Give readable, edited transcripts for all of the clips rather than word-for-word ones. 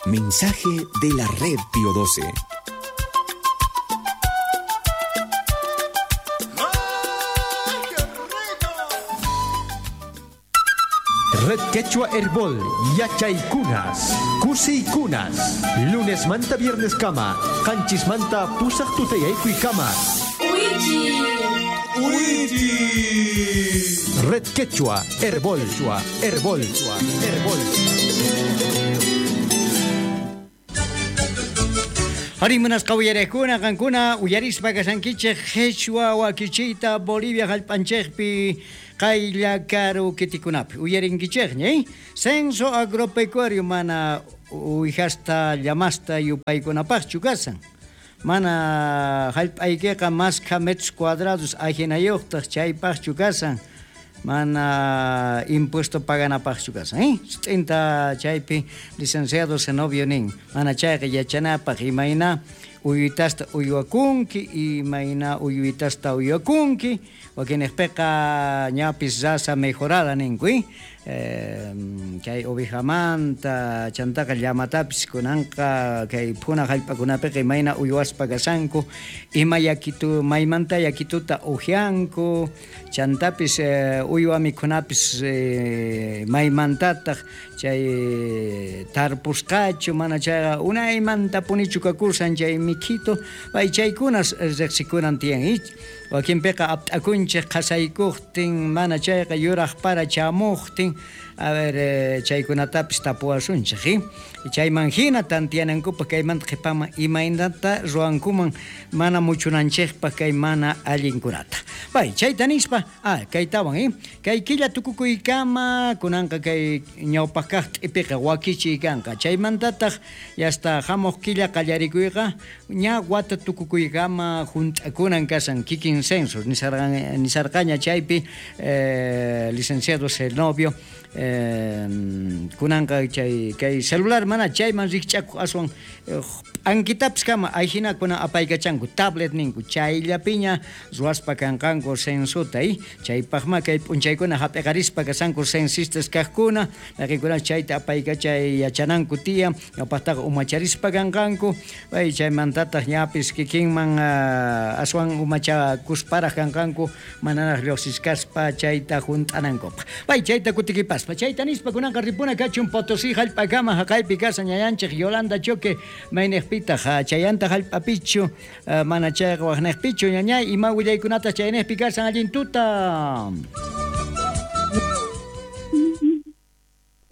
Mensaje de la Red Pío 12. Red Quechua Herbol, Yachaykunas, Kusiykunas, Lunes manta viernes kama, Qanchis manta pusaq tutayaykuy kama. Red Quechua Herbol, Herbol, Herbol. Arí munasqa uyariqkuna qankuna uyarispa kashankichej qhichwa wakichiyta Bolivia hallp'anchejpi qaylla karu kitikunapi uyarinkichejña, eh? Censo agropecuario mana uwihasta llamasta yupaykunapaqchu kasan. Mana hallp'aykiqa maskha metros cuadrados ajinayuqtaq chaypaqchu kasan. Mana impuesto paganapaqchu kasan, eh? Sut'inta chaypi licenciado Zenobio nin. Mana chayqa yachanapaq imayna uyuytasta uywakunki, imayna uyuytasta uywakunki, wakinejpiqa ñapis raza mejorada ninku, eh? Kay ovejamanta, chantaqa llamatapis kunanqa kay phuna hallp'akunapiqa imayna uywaspa kasanku, ima yakitu, maymanta yakituta ujianku, chantapis uywa mikhunapis maymantataq chay tarpusqachu, mana chayqa unaymantapunichu kakusan chay mikhito, pay chaykunas riqsikunan tiyan, ich. Wakinpiqa apt'akunchej qhasaykuqtin, mana chayqa yuraq para chamuqtin, a ver, chaykunatapis tapuwasunchej, eh? Chayman hina tantiyanankupaq kaymanta qhipaman imaynata ruwankuman mana muchunanchejpaq kay mana allinkunata. Pay, chayta nispa, kaytawan, eh? Kay killa tukukuykama kunanqa kay ñawpaq kaq t'ipiqa wakichiy kanqa. Chaymantataq yasta hamuq killa qallarikuyqa ña wata tukukuykama hunt'akunan kasan kikin censo nisarqaña chaypi licenciado Zenobio kunanqa chay kay celular mana chayman rikch'akuq aswan p'ankitapis kama ayhinakuna apaykachanku tablet ninku chayllapiña ruwaspa kanqanku censuta, eh? Chaypaqma kay p'unchaykuna hap'iqarispa kasanku censistas kaqkuna mayqinkuna chayta apaykachay yachananku tiyan ñawpaqtaqa umacharispa kanqanku pay chaymantataq ñapis kikinman aswan umachakusparaq kanqanku manaraq lluqsichkaspa chayta hunt'anankupaq. Pay chayta kutikipaspa chayta nispa kunanqa ripuna kachun Potosí hallp'akama haqaypi kasan ñañanchej Yolanda Choque maynejpitaq chayanta hallp'apichu mana chayqa waqnejpichu ñañay ima willaykunata chaynejpi kasan allin tuta.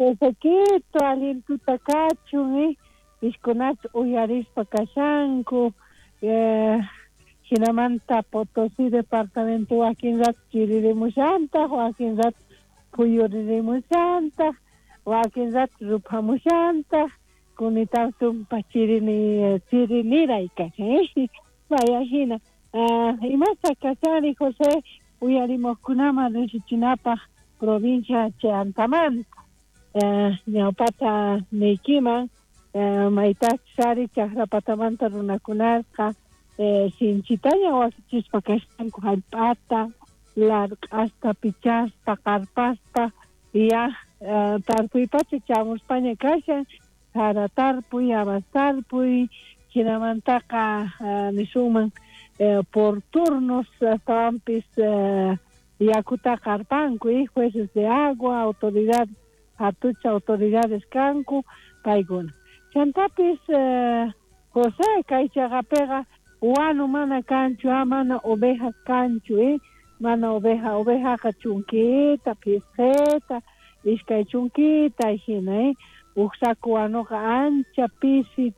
Ezequito allin tuta kachun, ishkunach uyarispa kashanku, hinamanta Potosí departamento wakin rato chiririmushantaq, wakin rato phuyuririmushantaq, wakin rato ruphamushantaq, kunitan tumpa chiriniray kashan, eh? Vaya hina. Imasta kashani José uyarimuqkunaman riqsichinapaq provincia Chantamanta. Ñawpata niykiman maytachus ari chaqrapatamanta runakunasqa sinchitaña wakichispa kashanku hallp'ata larq'asta pichaspa qarpaspa ya tarpuypacha chamuspaña kashan sara tarpuy habas tarpuy hinamantaqa nisunman por turnos astawanpis yakuta qarpanku, jueces de agua, autoridad hatucha autoridades kanku paykuna. Chantapis José kay chaqapiqa wanu mana kanchu, mana ovejas kanchu, mana oveja, ovejaqa chunkita, pisqita, iskay chunkita hina, uj saco wanuqa ancha pisi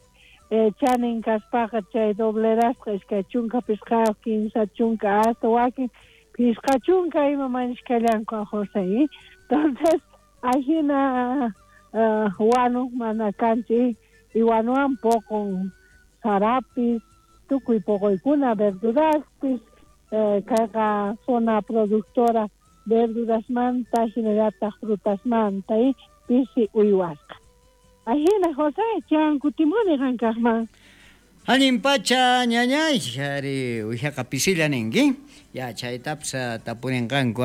chanin kaspaqa chay doblerasqa iskay chunka pisqayuq, kinsa chunka hasta wakin pisqa chunka ima mañishkallanku José, Entonces ajina wanu mana kanchu, y wanuwan poqon sarapis, tukuy poqoykuna verduraspis, kayqa zona productora verdurasmanta hinallataq frutasmanta, pisi uywasqa. Ajina José, chan kutimuni qankaqman. Allin pacha ñañay, ari uwijaqa pisilla ninki. Ya chaytapis tapurinqanku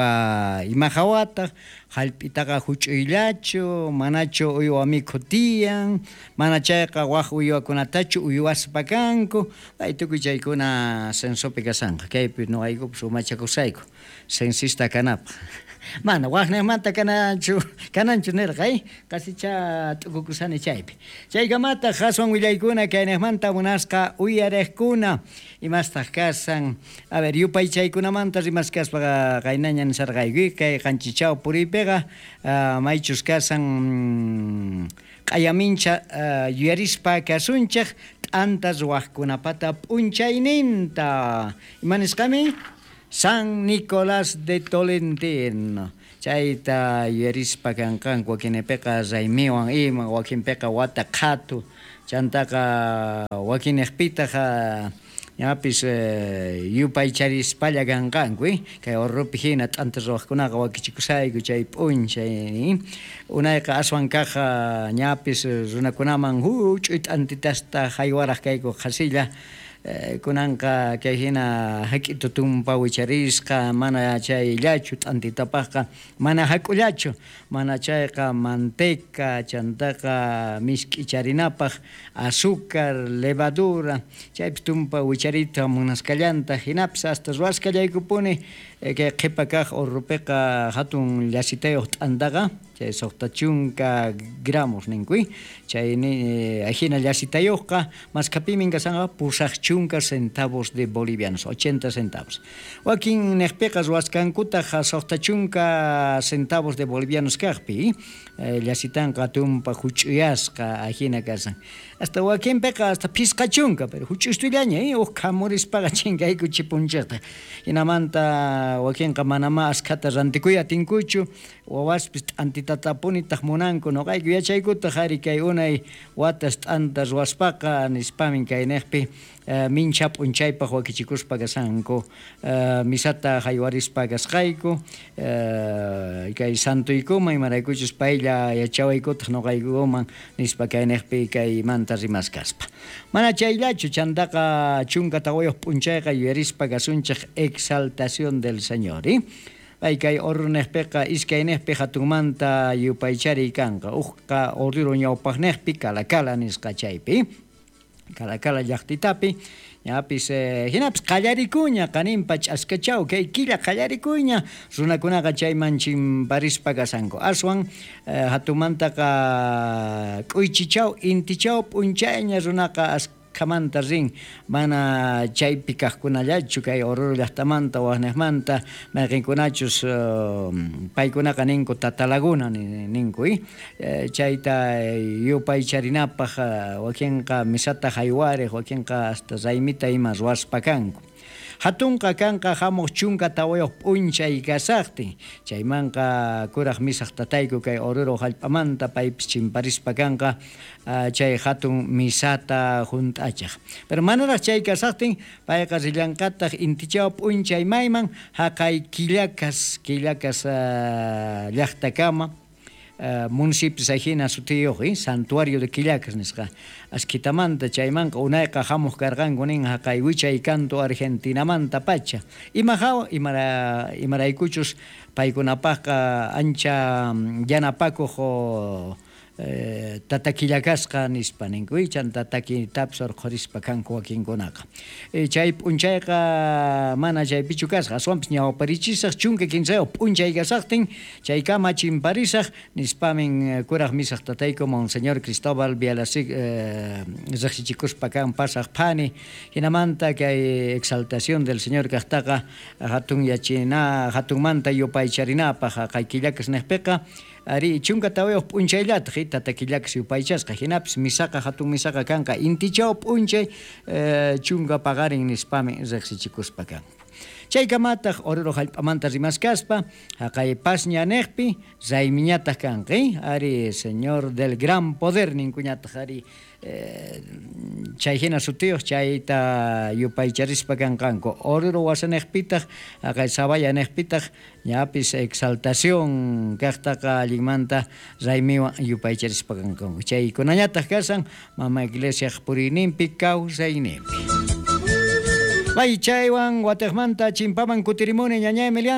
ima hawataq, hallp'itaqa huch'uyllachu, manachu uywa mikhu tiyan, mana chayqa wak uywakunatachu uywaspa kanku, pay tukuy chaykuna censopi kashanqa, kaypi noqaykupis umachakusayku censista kanapaq. Mana waknejmanta kananchu, kananchu nerqa, qasicha t'ukukusani chaypi. Chaykamataq aswan willaykuna kaynejmanta munasqa uyarejkuna, imastaq kasan. A ver, yupaychaykunamanta rimaskaspa qaynaña nisarqayku, kay qanchichaw puriypiqa maychus kasan q'ayamincha yuyarispa kasunchej t'anta ruwajkunapata p'unchayninta. Ima nisqami? San Nicolás de Tolentino. Chayta yuyarispa kanqanku wakinpiqa raymiwan ima, wakinpiqa wata qhatu, chantaqa wakinejpitaq ñapis yupaycharispalla kanqanku, kay Orropi hina t'anta ruwaqkunaqa wakichikusayku chay p'unchay. Unayqa aswan kaq ñapis runakunaman huch'uy t'antitasta haywaraq kayku qhasilla. Kunanqa kay hina hak'itu tumpa wicharisqa, mana chayllachu t'antitapaqqa, mana hak'ullachu, mana chayqa manteca, chantaqa misk'icharinapaq azúcar, levadura, chaypi tumpa wicharita munasqallanta, hinapis hasta ruwasqallaykupuni kay qhipa kaq Orropiqa hatun llasitayuq t'antaqa, chay suqta chunka gramos ninku, chay ajina llasitayuqqa maskhapimi kasanqa pusaq chunka centavos de bolivianos, 80 centavos. Wakin neqpiqa ruwasqankutaq suqta chunka centavos de bolivianos kaqpi, llasitanqa tumpa huch'uyasqa ajina kasan. Hasta wakinpiqa hasta phisqa chunka, pero huch'ustullaña, uq khamurispaqa chinkayku chipunchikta. Hinamanta wakinqa manamá askhata rantikuy atinkuchu, wawaspis t'antitatapunitaq munanku, noqayku yachaykutaq ari kay unay watas t'anta ruwaspaqa nispamin kayneqpi mincha p'unchaypaq wakichikuspa kasanku, misata haywarispa kasqayku, kay santuykuman imaraykuchus paylla yachawaykutaq noqaykuman nispa kayneqpi kaymanta rimaskaspa. Mana chayllachu, chantaqa chunka tawayuq p'unchayqa yuyarispa kasunchik exaltación del Señor, Pay kay Orroneqpiqa iskaynejpi hatunmanta yupaychariy kanqa, uqqa Oruro ñawpaqneqpi Calacala nisqa chaypi, Calacala llaqtitapi, ñapis hinapis qallarikuña qaninpa ch'askachaw kay killa qallarikuña runakunaqa chayman chimparispa kasanku. Aswan hatunmantaqa k'uychichaw intichaw p'unchayña runaqa askhamanta rin, mana chaypi kaqkunallachu kay Oruro llaqtamanta waqneqmanta mayqinkunachus paykunaqa ninku Tatalaguna ninku, chayta yupaycharinapaq wakinqa misata haywariq, wakinqa hasta raymita ima ruwaspa kanku. Hatunqa kanqa hamuq chunka tawayuq p'unchay kasaqtin, chaymanqa kuraq misaq tatayku kay Oruro hallp'amanta paypis chimparispa kanqa chay hatun misata hunt'achaq. Pero manaraq chay kasaqtin payqa rillanqataq intichaw p'unchay mayman haqay Quillacas, Quillacas llaqtakama, municipio ajina sutiyuq, Santuario de Quillacas nisqa. Askitamanta chaymanqa unayqa hamuq karqanku nin haqay wichay kantu Argentinamanta pacha. Ima hawa, imaraykuchus paykunapaqqa ancha yanapakuq tata Quillacasqa nispa ninku, chanta takitapis urqhurispa kanku wakinkunaqa. Chay p'unchayqa mana chaypichu kasqa, aswanpis ñawparichisaq chunka kinsayuq p'unchay kasaqtin chaykama chimparisaq nispamin kuraq misaq tatayku Monseñor Cristóbal Bialasik riqsichikuspa kan pasaq phani, hinamanta kay exaltación del Señor kaqtaqa hatun yachina, hatunmanta yupaycharinapaq haqay Quillacas neqpiqa ari chunka tawayuq p'unchayllataq tata Quillacas yupaychasqa, hinapis misaqa hatun misaqa kanqa intichaw p'unchay chunka paqarin nispami riqsichikuspa kanku. Chaykamataj Oruro jallp'amanta rimaskaspa jaqay pasña nejpi raymiñataq kanqa, ari Señor del Gran Poder ninkuñataq ari chay hina sutiyuq chayta yupaycharispa kanqanku. Oruro wasanejpitaq jaqay Sabaya nejpitaq ñapis exaltación kaqtaqa allinmanta raymiwan yupaycharispa kanqanku. Chaykunañataq kasan mama iglesiaq puriyninpi kawsayninpi. Bay chaywan watejmanta chimpaman kutirimuni ñaña Emiliana.